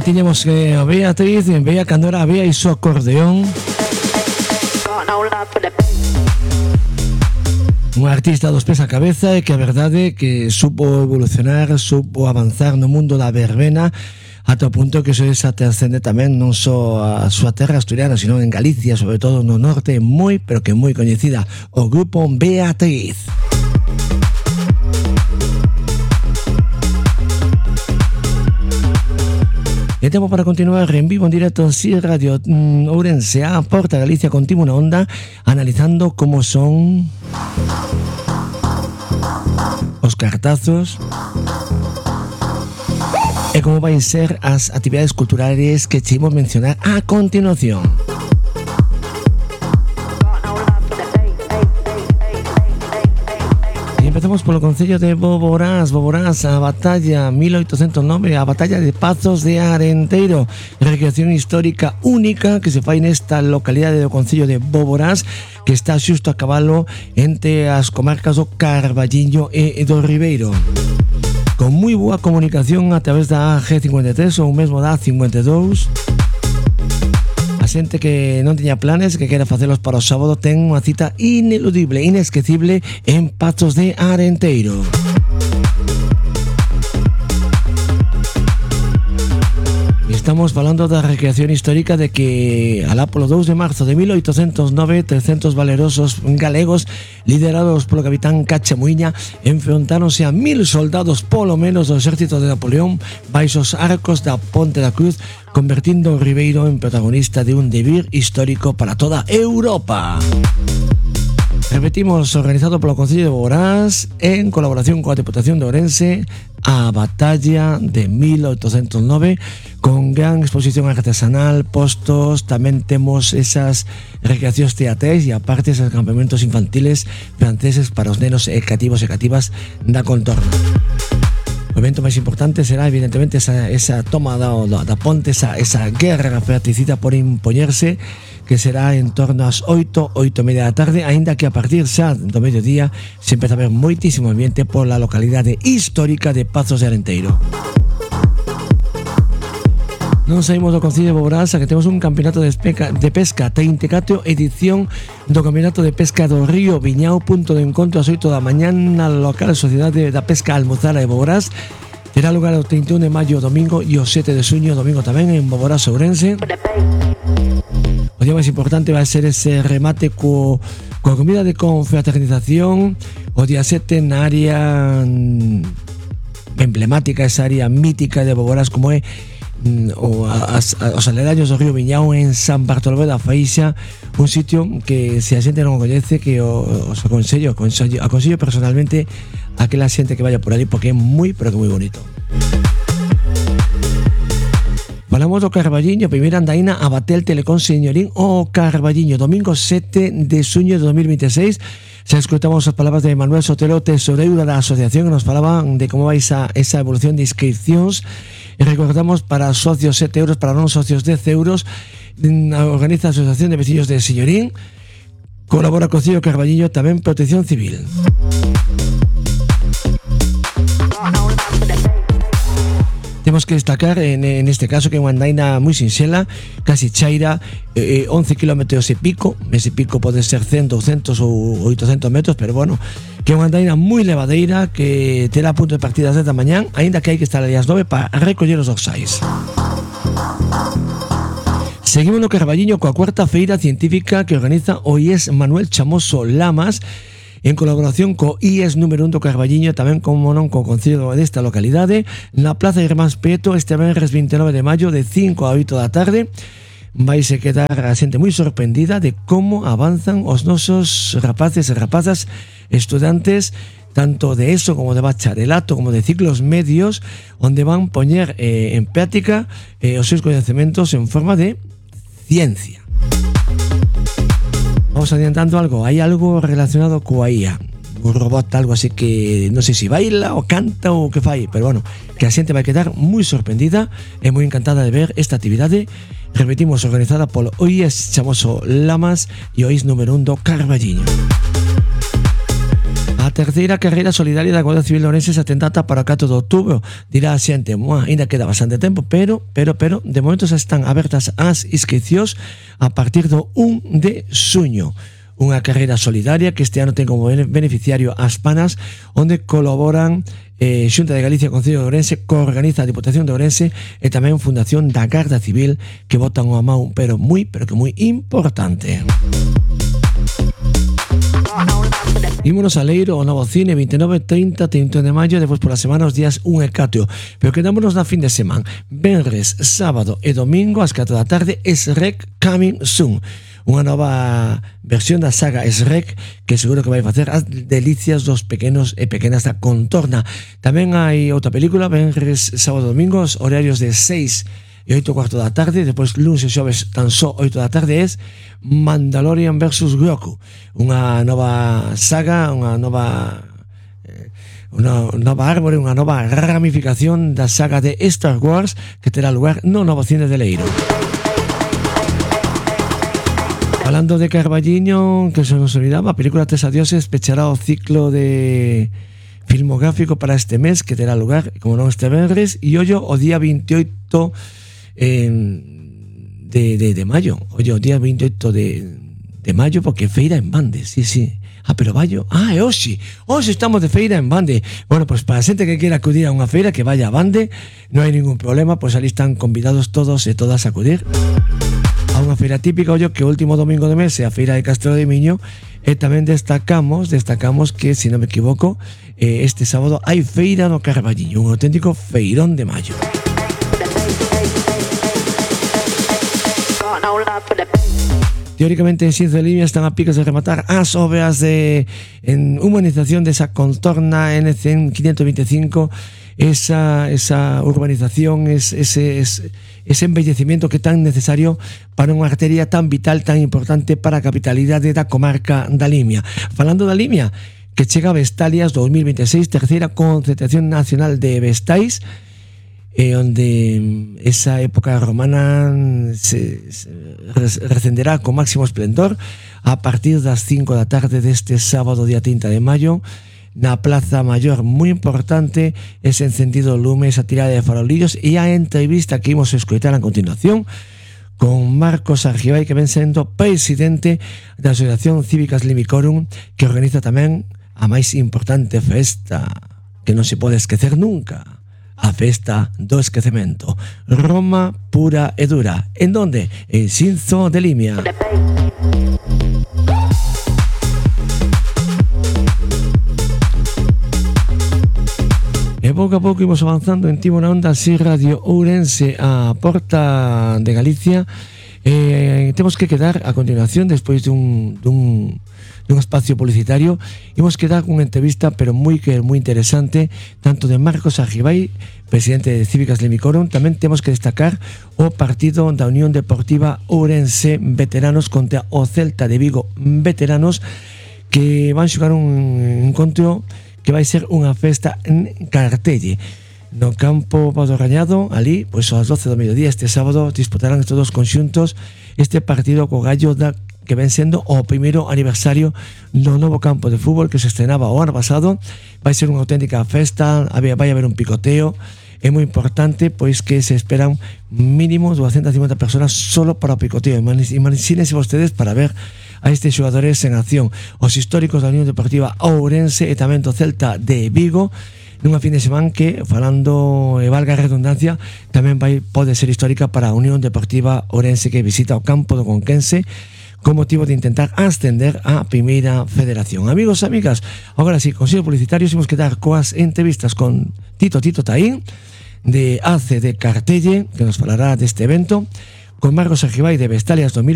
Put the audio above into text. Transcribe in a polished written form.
Tiñamos que a Beatriz, veía cando era a Bea e su acordeón. Un artista dos pés a cabeza e que a verdade que supo evolucionar, supo avanzar no mundo da verbena ata o punto que se trascende tamén non só a súa terra asturiana, sino en Galicia, sobre todo no norte, moi, pero que moi coñecida, o grupo Beatriz. E tempo para continuar en vivo en directo en Si Radio Ourense a Porta Galicia contigo na onda, analizando como son os cartazos e como vai ser as actividades culturales que che imos mencionar a continuación. Empezamos polo concello de Boborás, a batalla 1809, a batalla de Pazos de Arenteiro, recreación histórica única que se fai nesta localidade do concello de Boborás, que está xusto a cabalo entre as comarcas do Carballiño e do Ribeiro. Con moi boa comunicación a través da G53 ou mesmo da 52. A xente que non tiña planes, que quera facelos para o sábado, ten unha cita ineludible, inesquecible en Pazos de Arenteiro. Estamos falando da recreación histórica de que alá polo 2 de marzo de 1809 300 valerosos galegos liderados polo capitán Cachamuiña enfrontáronse a 1000 soldados polo menos do exército de Napoleón baixos arcos da Ponte da Cruz, convertindo o Ribeiro en protagonista de un devir histórico para toda Europa. Repetimos, organizado polo Concello de Boborás en colaboración coa Deputación de Ourense, a batalla de 1809 con gran exposición artesanal, postos, tamén temos esas recreacións teatrais e aparte esos campamentos infantiles franceses para os nenos e cativos e cativas da contorna. O evento máis importante será evidentemente esa toma da ponte, esa guerra fratricida por impoñerse, que será en torno ás 8:30 da tarde, aínda que a partir xa do mediodía se empeza a ver moitísimo ambiente pola localidade histórica de Pazos de Arenteiro. Non saímos do Concello de Boborás, que temos un campeonato de pesca 34 edición do campeonato de pesca do Río Viñao, punto de encontro ás 8 da mañá na local Sociedade da Pesca Almuzara de Boborás. Terá lugar o 31 de maio domingo e o 7 de xuño domingo tamén en Boborás, Ourense. O día máis importante vai ser ese remate coa comida de confraternización o día 7 na área emblemática, esa área mítica de Boborás como é os aledaños do Río Viñao en San Bartolomé da Faixa, un sitio que se a xente non o coñece, que os aconsello personalmente a aquela xente que vaya por ali porque é moi, pero que moi bonito. Falamos do Carballiño, primeira andaina a Batel Telecom Señorín o Carballiño, domingo 7 de xuño de 2026. Se escutamos as palabras de Manuel Sotelo, tesoreiro da asociación, que nos falaban de como vai esa evolución de inscripcións. E recordamos para socios 7 euros, para non socios 10 euros. Organiza a Asociación de Veciños de Señorín, colabora co Concello Carballiño, tamén Protección Civil. Temos que destacar en este caso que é unha andaina moi sinxela, casi chaira, 11 km e pico. Ese pico pode ser 100, 200 ou 800 metros, pero bueno, que é unha andaina moi levadeira que terá punto de partida ás 10 da mañán, aínda que hai que estar ali ás 9 para recoller os dorsais. Seguimos no Carballiño coa cuarta feira científica que organiza o IES Manuel Chamoso Lamas, en colaboración co IES número 1 do Carballiño, tamén como non co concello desta localidade, na Plaza de Irmáns Prieto, este venres 29 de maio de 5 a 8 da tarde. Vaise quedar a xente moi sorprendida de como avanzan os nosos rapaces e rapazas estudantes, tanto de ESO como de bacharelato como de ciclos medios, onde van poñer en práctica os seus coñecementos en forma de ciencia. Vamos adiantando algo, hai algo relacionado coa IA, un robot, algo así que non sei se baila ou canta ou que fai, pero bueno, que a xente vai quedar moi sorprendida e moi encantada de ver esta actividade. Repetimos, organizada polo IES Chamoso Lamas e o IES número 1 do Carballiño. A A terceira carreira solidaria da Guardia Civil de Ourense se atendata para o 4 de outubro. Dirá a xente, ainda queda bastante tempo, pero, de momento xa están abertas as inscricións a partir do 1 de xuño. Unha carreira solidaria que este ano ten como beneficiario as Panas, onde colaboran Xunta de Galicia e Concello de Ourense, que organiza a Diputación de Ourense e tamén Fundación da Garda Civil, que botan unha mão, pero que moi importante. Ímonos a Leiro, o Novo Cine, 29, 30, 31 de maio, despois pola semana os días 1 e 4. Pero quedámonos na fin de semana. Venres, sábado e domingo, ás 4 da tarde, Shrek Coming Soon. Unha nova versión da saga Shrek que seguro que vai facer as delicias dos pequenos e pequenas da contorna. Tamén hai outra película, venres, sábado e domingos, horarios de 6 e 8 cuarto da tarde, depois lunes e xoves tan só 8 da tarde, es Mandalorian vs Grogu, unha nova saga, unha nova árbore, unha nova ramificación da saga de Star Wars que terá lugar no Novo Cine de Leiro. Falando de Carballiño, que se nos olvidaba, a película Tres Adioses pechará o ciclo de filmográfico para este mes, que terá lugar, como non, este venres, e ollo o día 28 de maio. Ollo, o día 28 de maio, porque feira en Bande, sí. Pero Baio, é hoxe estamos de feira en Bande. Bueno, pues para a xente que quera acudir a unha feira, que vaya a Bande, non hai ningún problema, pues ali están convidados todos e todas a acudir a unha feira típica, ollo, que o último domingo de mes é a feira de Castelo de Miño, e tamén destacamos que, se non me equivoco, este sábado hai feira no Carballiño, un auténtico feirón de maio. Teóricamente en Xinzo de Limia están a piques de rematar as obras en humanización desa contorna N100 525, esa urbanización, ese embellecimiento que é tan necesario para unha arteria tan vital, tan importante para a capitalidade da comarca da Limia. Falando da Limia, que chega a Vestalias 2026, terceira concentración nacional de vestais, onde esa época romana se recenderá con máximo esplendor a partir das 5 da tarde deste sábado día 30 de maio na Plaza Maior. Moi importante ese encendido lume, esa tirada de farolillos e a entrevista que imos escoitar a continuación con Marcos Argibay, que ven sendo presidente da Asociación Cívicas Limicorum, que organiza tamén a máis importante festa que non se pode esquecer nunca, a festa do esquecemento, Roma pura e dura. En donde? En Xinzo de Limia. E pouco a pouco imos avanzando en Timo na Onda, así Radio Ourense, a porta de Galicia. Temos que quedar a continuación, despois dun espacio publicitario, imos quedar cunha entrevista pero moi interesante, tanto de Marcos Argibay, presidente de Cívicas Limicorum. Tamén temos que destacar o partido da Unión Deportiva Ourense Veteranos contra o Celta de Vigo Veteranos, que van xogar un encontro que vai ser unha festa en Cartelle, no campo Pau do Rañado. Ali, pois ás 12 do mediodía este sábado, disputarán estes dos conxuntos este partido co Gallo que ven sendo o primeiro aniversario do novo campo de fútbol que se estrenaba o ano pasado. Vai ser unha auténtica festa, vai haber un picoteo. É moi importante, pois que se esperan mínimo 250 personas solo para o picoteo. Imagínense vostedes para ver a estes xogadores en acción, os históricos da Unión Deportiva Ourense e tamén do Celta de Vigo, nunha fin de semana que, falando e valga a redundancia, tamén pode ser histórica para a Unión Deportiva Ourense, que visita o campo do Conquense con motivo de intentar ascender á primeira federación. Amigos e amigas, agora sí, consello publicitario, imos quedar coas entrevistas con Tito Taín, de ACE de Cartelle, que nos falará deste evento, con Marcos Argibay de Vestalias 2020,